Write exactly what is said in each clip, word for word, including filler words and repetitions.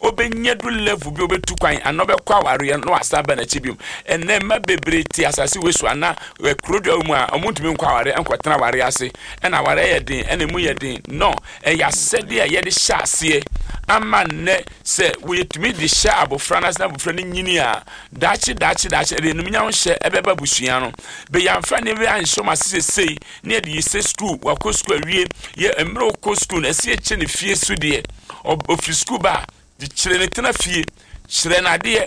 Ɔbɛnya du level bi, ɔbɛtu kwan anaa ɔbɛkɔ awareɛ na wasan aba n'akyi biom. Ɛnɛ mma bebree te asase wei so anaa kuro dua mu a, ɔmo ntumi nkɔ awareɛ, nkɔtena awareɛ ase, ɛna awareɛ yɛ den, ɛna emu yɛ den no. Ɛyɛ asɛdeɛ a yɛde hyɛ aseɛ ama nnɛ sɛ wɔyɛtumi de hyɛ abɔfra no ase na abɔfra no nyini a, daakye daakye daakye ɛde enumnyam hyɛ ɛbɛba abusua no. Bɛyɛnfa nneɛma bi anhyɛ wɔn ase sesei ne yɛde yi sɛ sukuu, wakɔ sukuu awie, yɛ mmerɛ ɔkɔ sukuu no, ɛsɛ yɛkyɛ ne fie so deɛ. Ɔfiri sukuu ba a, de kyerɛ ne tena fie, kyerɛ n'adeɛ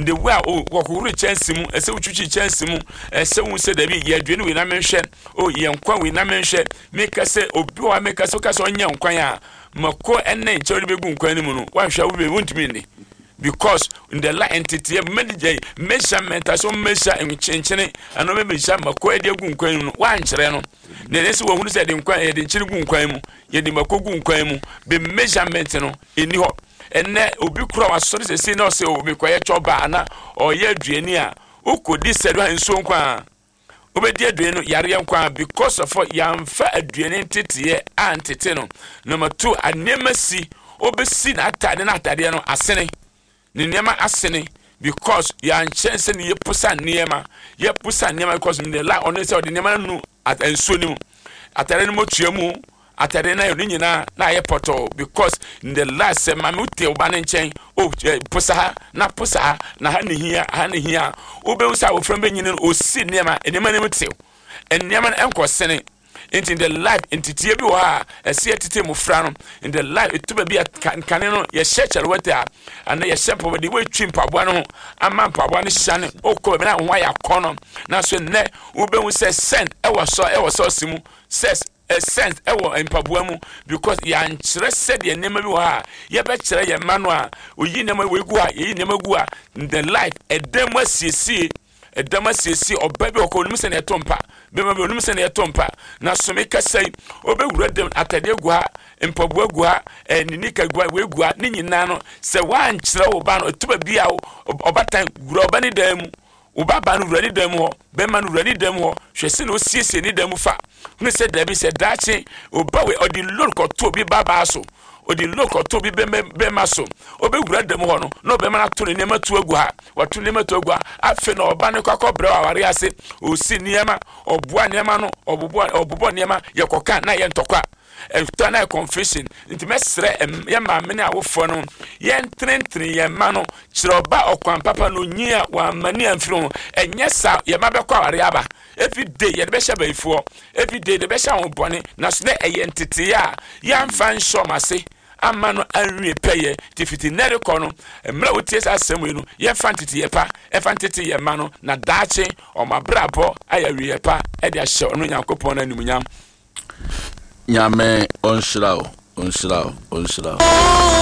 the way a wɔhohoro kyɛnse mu, ɛsɛ wotwitwi kyɛnse mu, ɛsɛ wo sɛ dabi, yɛ aduane wei na menhwɛ o, yɛ nkwan wei na menhwɛ. Meka sɛ obi wɔ hɔ, meka sɛ woka sɛ ɔnyɛ nkwan a, mako ɛne nkyɛn wode bɛgu nkwan no mu no, woanhwɛ wo bɛ wontumi nni, because in the line nteteɛ mɛgye measurement aso measure nkyenkyene ɛno bɛ measure mako ɛde agu nkwan mu no, woankyerɛ no na ɛsɛ sɛ wɔhunu sɛ yɛde nkwan, yɛde nkyene gu nkwan mu, yɛde mako gu nkwan mu, bɛ measurement no ɛni hɔ. Ɛnɛ obi kura wasɔre sɛsi na ɔsɛ obi kɔyɛ chɔba ana ɔyɛ aduane a, wokɔdi sɛ do nsuo nkwa a wobɛdi aduane no, yareɛ nkwa, because of yɛamfa aduane nteteɛ antete no. Number two, nneɛma si wobɛsi n'atade no, atadeɛ no asene, ne nneɛma asene, because yɛankyɛn sɛ ne yɛposa nneɛma, yɛposa nneɛma, because ne la ɔno sɛ ɔde nneɛma no nu nsuo no mu, atade no motua mu, atade no ne nyinaa na ayɛ pɔtɔɔ, because in the last sɛ maame wote wo ba ne nkyɛn o, posa ha na posa ha na ha ne hia, ha ne hia, wobɛhu sɛ abɔfra no bɛnyini no, ɔsi nneɛma, nneɛma no mu tew, nneɛma no nkɔ sene. Nti in the life nteteɛ bi wɔ hɔ a ɛsɛ yɛtete mmɔfra no in the life. Ɛtu baabi a nkane no yɛhyɛ kyɛlewɛte a ana yɛhyɛ mpaboa de wɔatwi mpaboa no ho ama mpaboa no hyane, wokɔ baabi na ho ayɛ akɔnɔ. Nanso nnɛ wobɛhu sɛ scent ɛwɔ sɔ ɛwɔ sɔɔse mu, sɛ scent ɛwɔ mpaboa mu, because yɛankyerɛ sɛdeɛ nneɛma bi wɔ hɔ a yɛbɛkyerɛ yɛn mma no a, oyi nneɛma wɔ egu a, yɛyi nneɛma gu a. The life ɛdan mu asiesie, ɛdam asiesie, ɔbaa bi wɔ kɔ onim sɛ na ɛtɔ mpa, bɛrima bi onim sɛ na ɛtɔ mpa. Na some kasa yi, ɔbɛwura dɛm, atadeɛ gu ha, mpaboa gu ha, ɛɛ ne nika gu ha, wei gu ha, ne nyinaa no sɛ wankyerɛ wo ba no, ɛtu baabi a ɔbatan wura ɔba ne dan mu, wo ba ba no wura ne dan mu hɔ, bɛrima no wura ne dan mu hɔ, hwɛ sɛ na osiesie ne dan mu fa hunu sɛ dabi, sɛ daakye ɔba wei ɔde load kɔto obi ba baa so, ɔde load kɔto obi bɛrima bɛrima so, ɔbɛwura dan mu hɔ no na ɔbɛrima no ato ne nneɛma tu agu ha, wato nneɛma tu agu ha. Afei na ɔba no kɔ akɔbrɛ wɔ aware ase, ɔsi nneɛma, ɔboa nneɛma no, ɔbobɔ ɔbobɔ nneɛma, yɛkɔka na yɛ ntɔkwa, ɛtɔ na yɛ confusion. Nti mɛsrɛ yɛ maame ne awofoɔ no, yɛntenetene yɛn mma no, kyerɛ ɔba ɔkwan papa no, onyi a wamma ni amfiri ho. Ɛnyɛ saa, yɛn mma bɛkɔ aware aba, every day yɛde bɛhyɛ abayifoɔ, every day yɛde bɛhyɛ ahobɔne. Na so dɛ ɛyɛ ntetee a yɛamfa nhyɛ ɔmo ase ama no anwie pɛyɛ. Nti fiti nnɛ rekɔ no, mmerɛ a wotie saa asɛm yi no, yɛmfa nteteyɛ pa ɛfa ntete yɛn mma no, na daakye ɔmo abrabɔ ayɛ awieɛ pa ɛde ahyɛ ɔno Nyankopɔn no animuonyam. Nyame ɔnhyira wo, ɔnhyira wo, ɔnhyira wo.